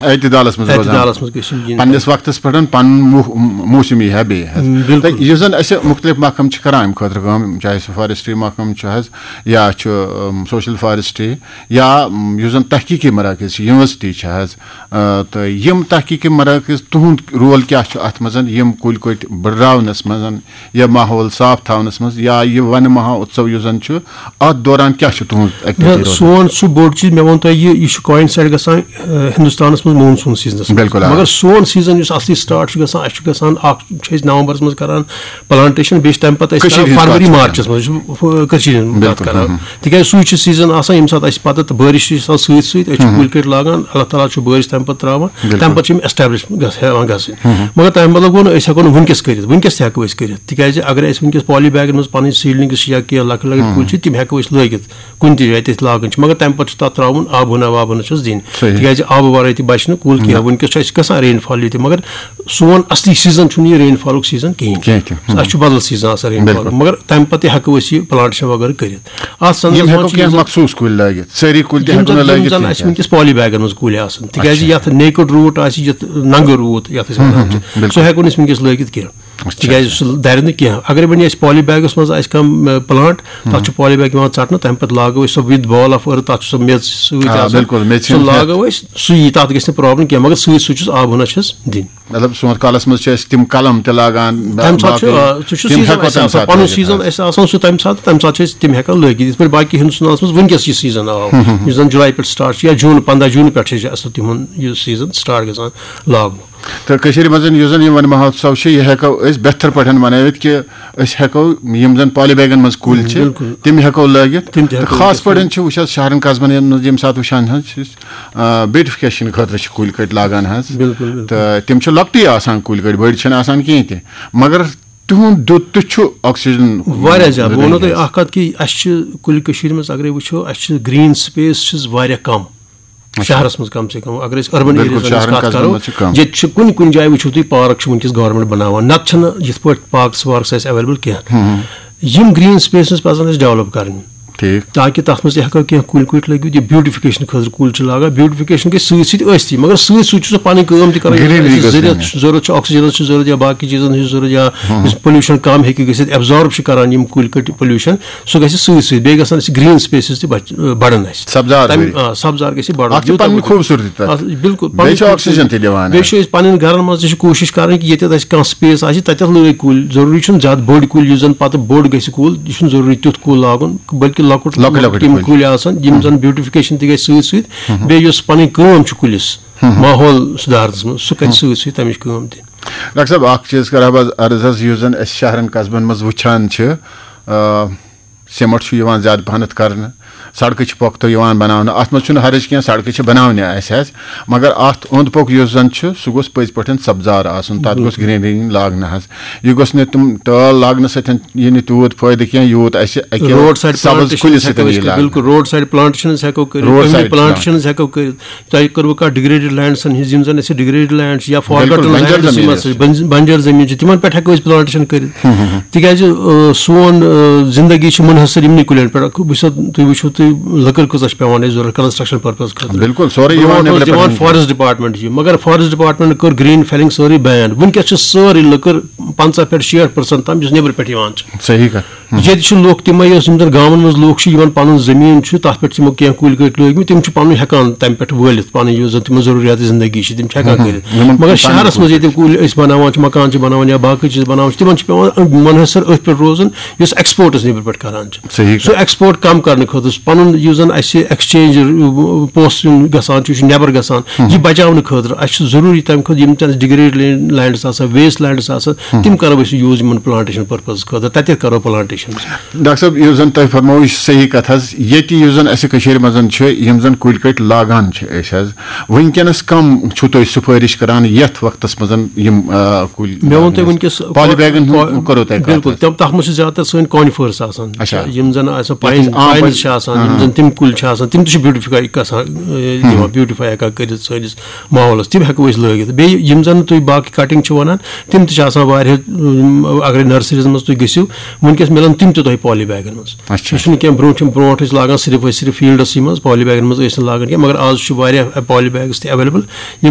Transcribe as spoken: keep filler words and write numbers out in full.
اعتدالس منٛز روزان۔ اعتدالس منٛز گٔژھِم یِنۍ۔ پننِس وقتس پٮ۪ٹھ پنُن موہ-، موسمی ہے بیٚیہِ حظ۔ بِلکُل۔ تہٕ یُس زن اسہِ مُختٔلِف محکمہٕ چھِ کران امہِ خٲطرٕ کٲم، چاہے سُہ فارسٹری محکمہٕ چھُ حظ، یا چھُ، ام، سوشل فارسٹری، یا، ام، یُس زن تحقیقی مراکز چھِ، یونیورسٹی چھِ حظ، آ، تہٕ یِم تحقیقی مراکز، تُہُنٛد رول کیٛاہ چھُ اتھ منٛز، یِم کُلۍ کٔٹۍ بٔڑراونس منٛز، یا ماحول صاف تھاونس منٛز، یا یہِ ونہٕ مہا اتسو یُس زن چھُ، اتھ دوران کیٛاہ چھُ تُہُنٛد activity نہ، روزان؟ سون سُہ بوٚڑ چیٖز، مےٚ ووٚن تۄہہِ، یہِ یہِ چھُ coincided گژھان، آ، ہندوستانس منٛز مون سون سیزنس منٛز۔ بِلکُل، آ۔ مگر سون سیزن یُس اصلی start چھُ گژھان، اسہِ چھُ گژھان اکھ، چھِ أسۍ نومبرس منٛز کران پلانٹیشن، بیٚیہِ چھِ تمہِ پتہٕ أسۍ کٔشیٖرِ کران ہِنٛز فروری کتھ چھِ مارچس منٛز، یہِ چھُ، آ، کٔشیٖرِ ہِنٛز کتھ بِلکُل، کران۔ ہم۔ تِکیازِ سُے چھُ سیزن آسان، ییٚمہِ ساتہٕ اسہِ پتہٕ تہٕ بٲرِش چھِ آسان سۭتۍ سۭتۍ، أسۍ چھِ کُلۍ کٔٹۍ لاگان، اللہ تعالیٰ چھُ بٲرِش تمہِ پتہٕ تراوان، بِلکُل۔ تمہِ پتہٕ چھِ یِم establish گژھ-، ہٮ۪وان گژھٕنۍ۔ مگر تمہِ بدلہٕ گوٚو نہٕ أسۍ ہٮ۪کو نہٕ وٕنکیٚس کٔرِتھ، وٕنکیٚس تہِ ہٮ۪کو أسۍ کٔرِتھ، تِکیازِ اگر أسۍ وٕنکیٚس poly bagن منٛز پنٕنۍ seedlings چھِ یا کینٛہہ لۄکٕٹۍ لۄکٕٹۍ کُلۍ چھِ، تِم ہٮ۪کو أسۍ لٲگِتھ کُنہِ تہِ جایہِ تہِ أسۍ لاگان چھِ، مگر تمہِ پتہٕ چھُ تتھ تراوُن آب ہنا واب ہنا چھُس دِنۍ، صحیح۔ تِکیازِ آبہٕ ورٲے تہِ بچہِ نہٕ کُل کینٛہہ۔ وٕنکیٚس چھُ اسہِ گژھان rainfall ییٚتہِ، مگر سون اصلی سیزن چھُنہٕ یہِ rainfallُک سیزن کِہینۍ۔ کینٛہہ تہِ۔ ہم۔ اسہِ چھُ بدل سیزن آسان rainfall، بِلکُل۔ مگر تمہِ پتہٕ تہِ ہٮ۪کو أسۍ یہِ پلانٹیشن وغٲرٕ کٔرِتھ۔ اتھ سنس یِم منٛز ہٮ۪کو چھِ کینٛہہ یِم مخصوٗص کُلۍ لٲگِتھ، سٲری کُلۍ تہِ یِم ہٮ۪کو زن، نہٕ یِم لٲگِتھ زن کینٛہہ اسہِ تہِ۔ وٕنکیٚس poly bagن منٛز کُلۍ آسان، تِکیازِ اچھا۔ یتھ naked root آسہِ، یتھ ننگہٕ روٗد یتھ أسۍ ونان چھِ، بِلکُل۔ سُہ ہٮ۪کو نہٕ أسۍ وٕنکیٚس لٲگِتھ کینٛہہ، اچھا، تِکیازِ سُہ درِ نہٕ کینٛہہ۔ اگر وۄنۍ اسہِ poly bagس منٛز آسہِ کانٛہہ، م، plant، تتھ چھُ poly bag یِوان ژٹنہٕ، تمہِ پتہٕ لاگو أسۍ سۄ with ball of earth، تتھ چھُ سۄ میٚژ سۭتۍ آ، آسان۔ بِلکُل، میٚژِ سُہ ہُنٛد لاگو أسۍ، سُہ یی، تتھ گژھِ نہٕ problem کینٛہہ، مگر سۭتۍ سۭتۍ چھُس آب ہنا چھِس دِنۍ۔ مطلب سونٛتھ کالس منٛز چھِ أسۍ تِم قلم تہِ لاگان، با-، تمہِ ساتہٕ چھُ، باقٕے آ، سُہ چھُ تِم season ہٮ۪کو اَسہِ تمہِ آسان، ساتہٕ پنُن لٲگِتھ season حظ۔ اَسہِ آسان سُہ تمہِ ساتہٕ، تمہِ ساتہٕ چھِ أسۍ تِم ہٮ۪کان لٲگِتھ۔ یِتھ پٲٹھۍ باقٕے ہندوستانس منٛز وٕنکیٚس یہِ season آو، یُس زن جُلاے پٮ۪ٹھ start چھُ یا جوٗن، پنٛداہ جوٗن پٮ۪ٹھ چھِ اَسہِ تِمن یہِ season start گژھان لاگنہٕ۔ تہٕ کٔشیٖرِ منٛز یُس زن یہِ ونہٕ مہوتسو چھُ، یہِ ہٮ۪کو أسۍ بہتر پٲٹھۍ منٲوِتھ کہِ أسۍ ہٮ۪کو یِم زن poly bagن منٛز کُلۍ چھِ، بِلکُل۔ تِم ہٮ۪کو لٲگِتھ۔ تِم تہِ تہٕ ہٮ۪کو خاص لٲگِتھ۔ پٲٹھۍ چھِ وٕچھ حظ شہرن قصبن منٛز ییٚمہِ ساتہٕ وٕچھان حظ چھِ أسۍ، آ، beautification خٲطرٕ چھِ کُلۍ کٔٹۍ لاگان حظ۔ بِلکُل، بِلکُل۔ تہٕ تِم چھِ لۄکٹی آسان کُلۍ کٔٹۍ، بٔڑۍ چھِنہٕ آسان کِہیٖنۍ تہِ، مگر تِہُنٛد دیُت تہِ چھُ oxygen واریاہ زیادٕ۔ بہٕ وَنو دِنہٕ تۄہہِ اَکھ کَتھ کہِ اَسہِ چھِ کُلۍ کٔشیٖرِ منٛز اگرَے وٕچھو، اَسہِ چھِ green space چھِس واریاہ کَم۔ شہرَس منٛز کم سے کم، اگر أسۍ urban بِلکُل، areasن ہٕنٛز شہرَن کَتھ قصبَن کَرو، منٛز چھِ کَم۔ ییٚتہِ چھِ کُنہِ کُنہِ جایہِ وٕچھِو تُہۍ park چھِ وٕنکیٚس government بَناوان، نَتہٕ چھَنہٕ یِتھ پٲٹھۍ parks وارکٕس اَسہِ available کینٛہہ۔ یِم green spaces پَزَن اَسہِ develop کَرٕنۍ۔ ٹھیٖک۔ تاکہِ تَتھ منٛز تہِ ہٮ۪کو کینٛہہ کُلۍ کُٹۍ لٔگِتھ، یہِ beautification خٲطرٕ کُلۍ چھِ لاگان، beautification گژھِ سۭتۍ سۭتۍ ٲسۍتٕے، مگر سۭتۍ سۭتۍ چھُ سُہ پَنٕنۍ کٲم تہِ کَران۔ یُس Greenery اَسہِ گٔژھ ضروٗرت یِنۍ۔ چھُ، ضروٗرت چھُ، oxygenس چھُ ضروٗرت یا باقٕے چیٖزَن ہٕنٛز ضروٗرت یا یُس pollution کَم ہیٚکہِ گٔژھِتھ، absorb چھِ کَران یِم کُلۍ کٔٹۍ pollution، سُہ گژھِ سۭتۍ سۭتۍ۔ بیٚیہِ گژھن اَسہِ green spaces تہِ بَچ-، بَڑَن اَسہِ۔ سبزار تَمہِ، ضروٗری۔ آ، سبزار گژھِ بَڑُن۔ اَکھ چھِ یوٗتاہ پَنٕنۍ گوٚو۔ خوٗبصوٗرتی تَتھ۔ اَتھ، بِلکُل، بیٚیہِ چھِ پَنٕنۍ oxygen تہِ دِوان بیٚیہِ اَسہِ۔ چھِ أسۍ پَنٕنۍ گَرَن منٛز تہِ چھِ کوٗشِش کَرٕنۍ کہِ ییٚتٮ۪تھ اَسہِ کانٛہہ space آسہِ، تَتٮ۪تھ لٲگۍ کُلۍ۔ ضروٗری چھُنہٕ زیادٕ بٔڑۍ کُلۍ، یُس زَن پَتہٕ بوٚڑ گژھِ کُل، یہِ چھُنہٕ ضروٗری تیُتھ کُل لاگُن، بلکہِ لۄکُٹ لۄکٕٹۍ لۄکٕٹۍ یِم کُلۍ۔ کُلۍ آسَن، یِم زَن beautification تہِ گژھِ سۭتۍ سۭتۍ۔ بیٚیہِ یُس پَنٕنۍ کٲم چھِ کُلِس، ماحول سُدھارنَس منٛز، سُہ کَرِ سۭتۍ سۭتۍ تَمِچ کٲم تہِ۔ ڈاکٹر صٲب، اَکھ چیٖز کَرٕ ہا بہٕ عرض حظ، یُس زَن أسۍ شہرَن قصبَن منٛز وٕچھان چھِ، آ، سیمٹ چھُ یِوان زیادٕ پَہنَتھ کَرنہٕ، سڑکہٕ چھِ پۄختہٕ یِوان بَناونہٕ، اَتھ منٛز چھُنہٕ حرج کینٛہہ، سڑکہٕ چھِ بَناونہِ اَسہِ حظ، مگر اَتھ اوٚنٛد پوٚک یُس زَن چھُ، سُہ گوٚژھ پٔزۍ پٲٹھۍ سبزار آسُن، تَتھ گوٚژھ greenery لاگنہٕ حظ۔ یہِ گوٚژھ نہٕ تِم ٹٲل لاگنہٕ سۭتۍ یہِ نہٕ تیوٗت فٲیدٕ کینٛہہ، یوٗت اَسہِ اَکہِ Road side سبز plantations کُلہِ ہٮ۪کو سۭتۍ أسۍ یی کٔرِتھ، لاگنہٕ۔ بِلکُل، road side plantations ہٮ۪کو کٔرِتھ، Road أمۍ side plantations ہٮ۪کو کٔرِتھ۔ تۄہہِ کوٚروٕ کَتھ degraded landsن ہٕنٛز، یِم زَن اَسہِ degraded land چھِ یا forgotten بنجر lands چھِ، زٔمیٖن یِم یۄس ہسا چھِ۔ بنج-، بنجر زٔمیٖن چھِ، تِمن پٮ۪ٹھ ہٮ۪کو أسۍ plantation کٔرِتھ۔ تِکیازِ، آ، سون، آ، زندگی چھِ منحصر یِمنٕے کُلٮ۪ن پٮ۪ٹھ۔ بہٕ چھُس، تُہۍ وٕچھِو، تُہۍ لٔکٕر کۭژاہ چھِ پٮ۪وان اَسہِ ضروٗرت construction purpose خٲطرٕ۔ بِلکُل، سورُے یِوان برونٛٹھ اوس نیٚبرٕ دِوان پٮ۪ٹھ۔ forest department یہِ، مگر forest department کٔر green felling سٲرٕے ban۔ وٕنکیٚس چھِ سٲرٕے لٔکٕر پنٛژاہ پٮ۪ٹھ شیٹھ percent تام یُس نیٚبرٕ پٮ۪ٹھ یِوان چھِ۔ صحیح کَتھ۔ ییٚتہِ چھِ لُکھ تِمے، یۄس یِم زَن گامَن منٛز لُکھ چھِ، یِمَن پَنُن زٔمیٖن چھُ، تَتھ پٮ۪ٹھ چھِ یِمو کینٛہہ کُلۍ کٔٹۍ لٲگۍ مٕتۍ، تِم چھِ پَنُن ہٮ۪کان تَمہِ پٮ۪ٹھ وٲلِتھ پَنٕنۍ یُس زَن تِمَن ضروٗریات زِندگی چھِ، تِم چھِ ہٮ۪کان کٔرِتھ۔ یِمَن مگر پَنٕنۍ شہرَس منٛز ییٚتہِ کُلۍ أسۍ بَناوان چھِ، مکان چھِ بَناوان یا باقٕے چیٖز بَناوان چھِ، تِمَن چھِ پٮ۪وان منحصر أتھۍ پٮ۪ٹھ روزُن، یُس export منٛز نیٚبرٕ پٮ۪ٹھ کَران چھِ۔ صحیح سُہ کَتھ۔ export کَم کَرنہٕ خٲطرٕ، پَنُن یُس زَن اَسہِ exchange پونٛسہٕ یُن گژھان چھُ، یہِ چھُ نٮ۪بر گژھان، یہِ بَچاونہٕ خٲطرٕ اَسہِ چھُ ضروٗری تَمہِ خٲطرٕ یِم تہِ اَسہِ degraded lands آسان، waste lands آسان، تِم کَرو أسۍ use یِمَن plantation purpose خٲطرٕ، تَتہِ کَرو plantation۔ ڈاکٹر صٲب، یُس زَن تۄہہِ فرموو، یہِ چھُ صحیح کَتھ حظ۔ ییٚتہِ یُس زَن اَسہِ کٔشیٖرِ منٛز چھُ، یِم زَن کُلۍ کٔٹۍ لاگان چھِ أسۍ حظ، وٕنکیٚنَس کَم چھُو تُہۍ سُفٲرِش کَران یَتھ وقتَس منٛز یِم، آ، کُلۍ مےٚ ووٚن تۄہہِ لاگنَس؟ وٕنکیٚس Poly bagن ہُنٛد پا-، بِلکُل، حظ؟ تِم، تَتھ منٛز چھِ زیادٕ تَر سٲنۍ conifers آسان، اچھا۔ یِم زَن آسان یَتھ أسۍ pine، عام pines پٲٹھۍ۔ چھِ آسان، یِم زَن تِم کُلۍ چھِ آسان، تِم تہِ چھِ beautify گژھان، آ، دِوان، beautify ہٮ۪کان کٔرِتھ سٲنِس ماحولَس۔ تِم ہٮ۪کو أسۍ لٲگِتھ۔ بیٚیہِ یِم زَن تُہۍ باقٕے cutting چھِ وَنان، تِم تہِ چھِ آسان واریاہ، اَم، اگرے nurseryیَن منٛز تُہۍ گٔژھِو، وٕنکیٚس مِلَن تِم تہِ تۄہہِ poly bagن منٛز۔ اچھا۔ یہِ چھُنہٕ کینٛہہ، برونٛٹھ چھِ، برونٛٹھ ٲسۍ لاگان صرف، ٲسۍ صرف fieldس منٛز poly bagن منٛز ٲسۍ نہٕ لاگان کینٛہہ، مگر آز چھُ واریاہ poly bags تہِ available، یِم